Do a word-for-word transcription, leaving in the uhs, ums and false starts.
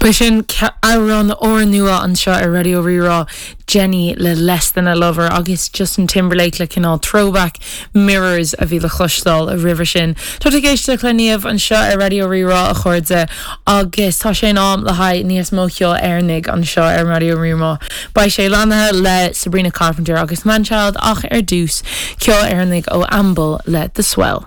Ba sin amhrán úrnua anseo ar Raidió Rí-Rá Jenny le Less Than a Lover agus Justin Timberlake le cineál throwback mirrors a bhí le cloisteáil roimhe sin. Tá ag éisteacht le Niamh anseo ar Raidió Rí-Rá a chairde agus tá sé in am le haghaidh níos mó ceoil Éireannaigh anseo ar Raidió Rí-Rá. Beidh sé lanathe le Sabrina Carpenter agus Manchild ach ar dtús ceol Éireannaigh ó Amble le The Swell.